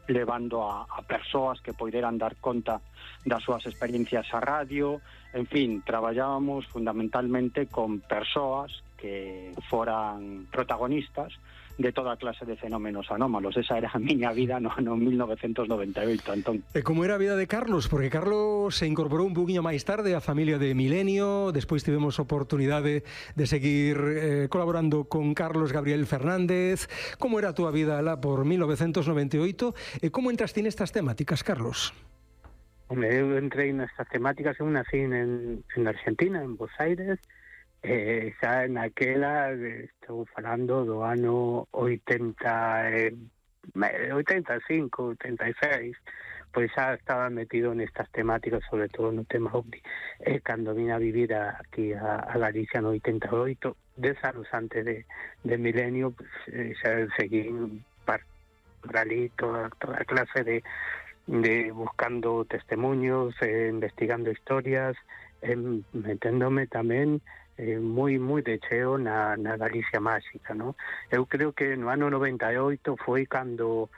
levando a persoas que poideran dar conta das súas experiencias a radio. En fin, traballábamos fundamentalmente con persoas que foran protagonistas de toda clase de fenómenos anómalos. Esa era a miña vida no 1998, Antón. E como era a vida de Carlos? Porque Carlos se incorporou un poquinho máis tarde á familia de Milenio, despois tivemos oportunidade de seguir colaborando con Carlos Gabriel Fernández. Como era a túa vida lá por 1998 e como entraste nestas temáticas, Carlos? Eu entrei nestas temáticas, eu nací en Argentina, en Buenos Aires, xa naquela, estou falando do ano 85, 86, pois xa estaba metido nestas temáticas, sobre todo no tema OVNI. Cando vine a vivir aquí a Galicia no 88, 10 anos antes de Milenio, pues, xa seguí por ali toda clase de buscando testemunhos, investigando historias, meténdome tamén moi de cheo na Galicia máxica, ¿no? Eu creo que no ano 98 foi cando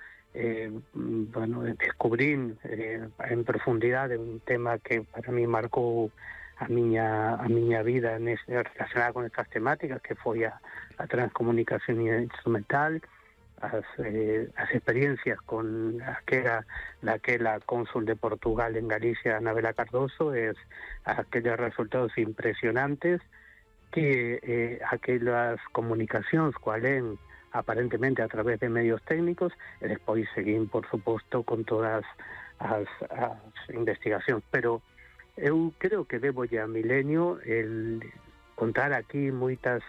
descubrín en profundidade un tema que para mí marcou a miña vida relacionada con estas temáticas, que foi a transcomunicación instrumental, as experiencias con daquela cónsul de Portugal en Galicia, Anabela Cardoso, aquellos resultados impresionantes que aquelas comunicacións coalen aparentemente a través de medios técnicos, e despois seguín, por suposto, con todas as investigacións. Pero eu creo que debo a Milenio el contar aquí moitas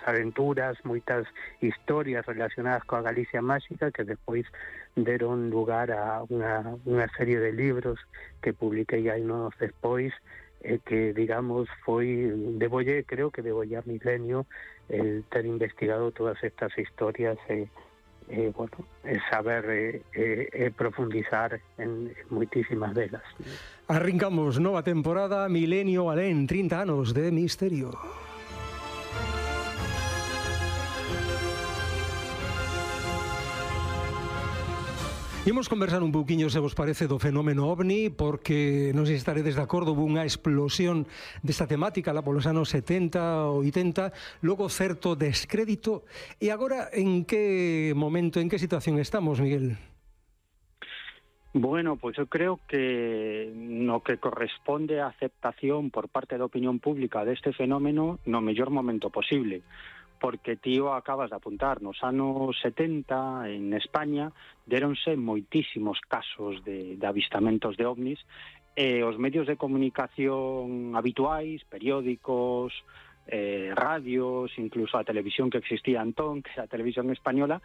aventuras, moitas historias relacionadas coa Galicia máxica que despois deron lugar a unha serie de libros que publiquei anos despois, que, digamos, creo que debolle a Milenio el ter investigado todas estas historias saber profundizar en moitísimas delas. Arrancamos nova temporada, Milenio Alén, 30 anos de misterio. Imos conversar un pouquiño, se vos parece, do fenómeno OVNI, porque non sei se estaredes de acordo, hubo unha explosión desta temática lá polos anos 70, 80, logo certo descrédito, e agora en que momento, en que situación estamos, Miguel? Bueno, pois eu creo que no que corresponde a aceptación por parte da opinión pública deste fenómeno no mellor momento posible, porque tío acabas de apuntar, nos anos 70 en España deronse moitísimos casos de avistamentos de ovnis, e os medios de comunicación habituais, periódicos, radios, incluso a televisión que existía entón, que era a televisión española,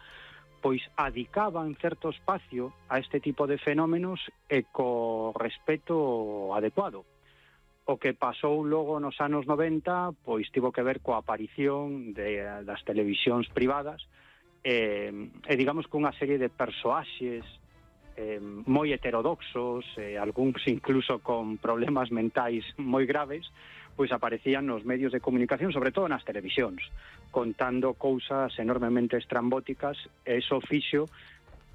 pois adicaban certo espacio a este tipo de fenómenos e co respeto adecuado. O que pasou logo nos anos 90, pois tivo que ver coa aparición das televisións privadas e digamos que unha serie de persoaxes moi heterodoxos, algúns incluso con problemas mentais moi graves, pois aparecían nos medios de comunicación, sobre todo nas televisións, contando cousas enormemente estrambóticas, e iso fixo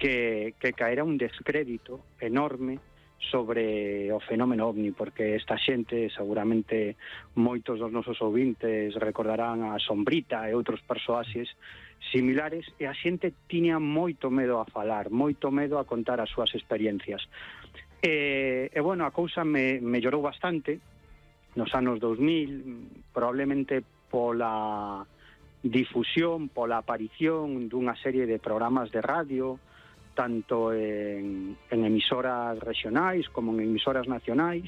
que caera un descrédito enorme sobre o fenómeno OVNI, porque esta xente, seguramente moitos dos nosos ouvintes recordarán a Sombrita e outros persoaxes similares, e a xente tiña moito medo a falar, moito medo a contar as súas experiencias. E bueno, a cousa mellorou bastante nos anos 2000, probablemente pola difusión, pola aparición dunha serie de programas de radio, tanto en emisoras regionais como en emisoras nacionais,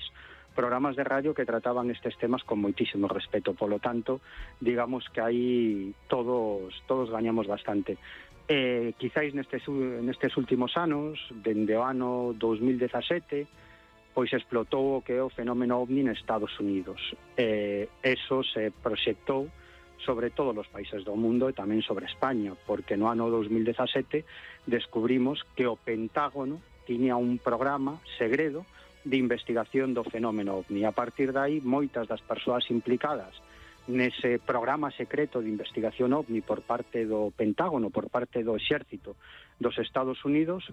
programas de radio que trataban estes temas con moitísimo respeto. Polo tanto, digamos que aí todos gañamos bastante. Quizáis nestes últimos anos, dende o ano 2017, pois explotou o que é o fenómeno OVNI en Estados Unidos. Eso se proxectou sobre todos os países do mundo e tamén sobre España, porque no ano 2017 descubrimos que o Pentágono tiña un programa segredo de investigación do fenómeno OVNI. A partir de aí, moitas das persoas implicadas nese programa secreto de investigación OVNI por parte do Pentágono, por parte do Exército dos Estados Unidos,